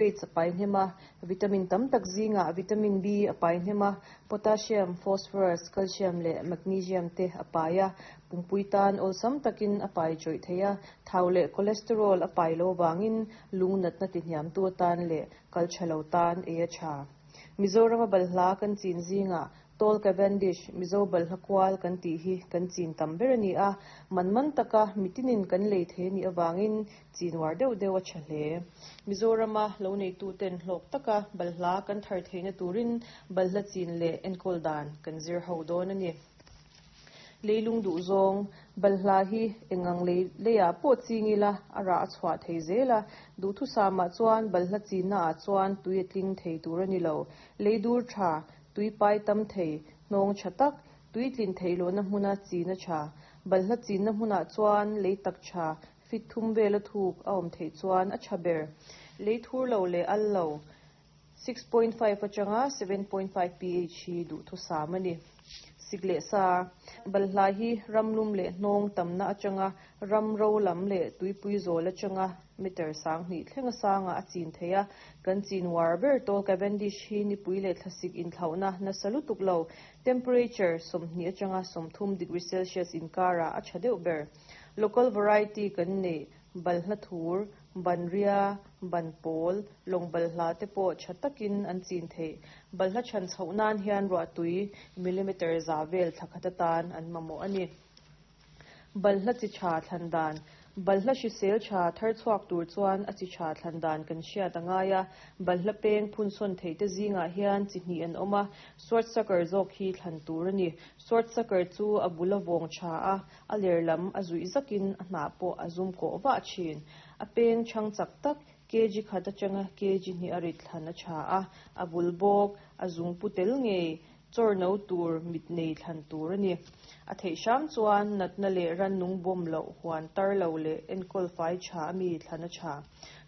Fruits a pai hnem a, vitamin tam tak zingah vitamin B a pai hnem a, potassium, phosphorus, calcium leh magnesium te a pai a, pumpui tan awlsam takin a pai chawih thei a, thau leh cholesterol a pai lo vangin lung natna tihniamtu atan leh kal tha lo tan ei a tha. Mizorama balhla kan chin zingah Tall Cavendish, Mizo balhla kual kan tih hi kan chin tam ber a ni a, man man taka mitinin kan lei thei a nih avangin chin uar deuh deuh a tha hle. Mizorama lo neituten hlawk taka balhla kan thar theihna turin balhla chin leh enkawl dan kan zir ho dawn a ni. Leilung duh zawng, balhla hi engang lei leiah pawh ching ila a rah a chhuah thei zel a, duhthusamah chuan balhla chinna ah chuan tui a tling thei tur a ni lo. Lei dur tha, tui pai tam thei, hnawng tha tak, tui tlin theih lohna hmuna chin a tha. Balhla chinna hmunah chuan lei tak tha, fit thum vela thuk a awm theih chuan a tha ber. Lei thur lo leh al lo, 6.5 atanga 7.5 pH hi duhthusam a ni. Sik leh sa, Balhla hi ramlum leh hnawng tamna atanga ram ro lam leh tuipui zawl atanga meter 2000 thlenga sangah a chin thei a. Kan chin uar ber Tall Cavendish hi nipui leh thlasik inthlauhna nasa lutuk lo, temperature 20 atanga 30 degree Celsius inkarah a tha deuh ber. Local variety kan neih balhla thur, banria, ban pawl, lawng balhla te pawh tha takin an chin theih. Balhla chhan chhoh nan hian ruahtui millimeter za vel thla khat atan an mamawh a ni. Balhla chi tha thlan dan, Balhla hrisel tha thar chhuak tur chuan a chi tha thlan dan kan hriat a ngai a. Balhla peng phunsawn theih te zingah hian chi hnih an awm a, Swordsucker zawk hi thlan tur a ni. Swordsucker chu a bul a vawng tha a, a ler lam a zuih zakin a hnah pawh a zum kawh vah thin. A peng chhang chak tak, kg khat atanga kg hnih a rit thlan a tha a, a bul bawk, a zung pu tel ngei, chawr no tur mit nei thlan tur a ni. A theih hram chuan natna leh rannung bawm loh, huan tar lo leh enkawl fai tha a mi thlan a tha.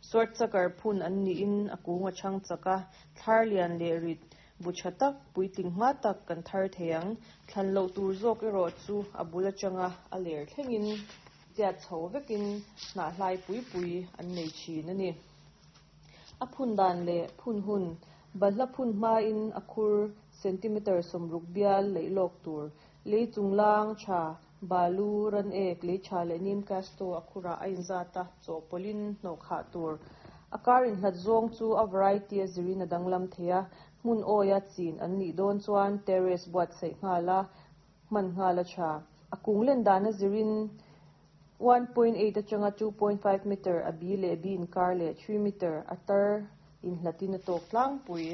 Swordsucker phun an niin a kung a chhang chak a, thlar lian leh rit Bu tha tak, puitling hma tak kan thar thei ang. Thlan loh tur zawk erawh chu a bul atanga a ler thlengin tiat chho vekin hnah hlai pui pui an nei thin a ni. A phun dan leh phun hun, balhla phun hmain a khur centimeter 60 bial leih lawk tur, lei chunglang tha, balu, ran ek, lei tha leh neem casto a khurah a inzat a, chawhpawlhin hnawh khah tur. A kar inhlat zawng chu a variety a zirin a danglam thei a, hmun awia chin an nih dawn chuan terrace buatsaih nghal a, hman nghal a tha. A kung len dan a zirin 1.8 atanga 2.5 meter a bi leh bi inkar leh 3 meter a tar inhlatin a tawk tlangpui.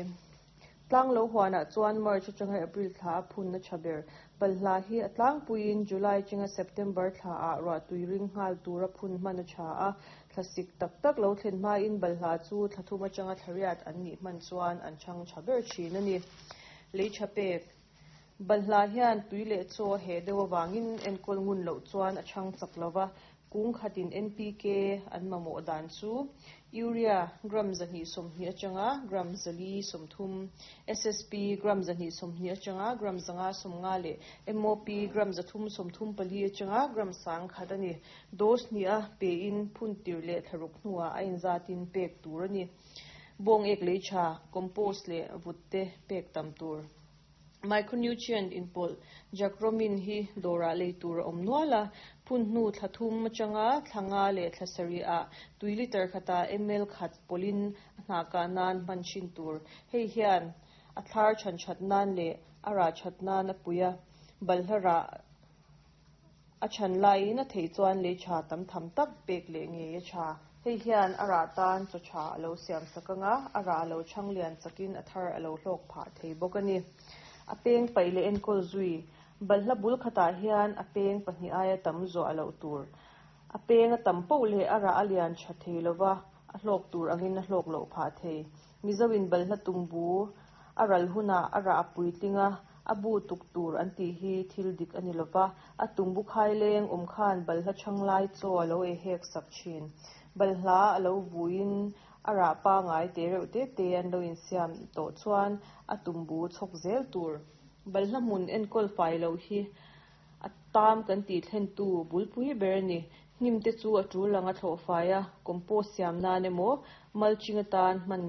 Tlang lo huanah chuan March atanga April thla a phun a tha ber. Balhla hi a tlangpuiin July atanga September thla ah ruahtui ring nghal tura phun hman a tha a, thlasik tak tak lo thlen hmain balhla chu thla thum atanga thla riat an nih hman chuan an chhang tha ber thin a ni. Lei tha pek. Balhla hian tui leh chaw a heh deuh avangin enkawl ngun loh chuan a chhang chak lova, Kung khatin NPK an mamawh dan chu Urea gram 220 atanga gram 430, SSP gram 220 atanga gram 550 leh MOP gram 334 atanga gram 1000 a ni. Dose hnih a pein phun tir leh thlaruk hnuah a inzatin pek tur a ni. Bawng ek lei tha, compost leh vut te pek tam tur. Micronutrient inpawlh Jacromin hi dawrah lei tur a awm nual a, phun hnu thla thum atanga thla nga leh thla sarih ah tui liter khatah ml khat pawlhin a hnah kah nan hman thin tur. Hei hian a thlar chhan that nan leh a rah that nan a pui a, balhla rah A chhan laiin a theih chuan lei tha tam tham tak pek leh ngei a tha. Hei hian a rah tan chaw tha a lo siam sak ang a, a rah a lo chhang lian chakin a thar a lo hlawk phah thei bawk a ni. A peng paih leh enkawl zui. Balhla bul khatah hian a peng pahnih aia tam zuah loh tur. A peng a tam poh leh a rah a lian tha thei lova, a hlawk tur angin a hlawk loh phah thei. Mizoin balhla tumbu a ral hunah a rah a puitling a, A bu tuk tur an tih hi thil dik a ni lo va, a tumbu khai leng awm khan balhla chhang lai chaw a lo ei hek sak thin. Balhla a lo vuiin a rah pangai te reuh te te an lo insiam tawh chuan a tumbu chhawk zel tur. Balhla hmun enkawl fai loh hi a tam kan tih thlentu bulpui ber a ni. Hnim te chu a tul anga thlawh fai a, compost siam nan emaw mulching atan hman ni.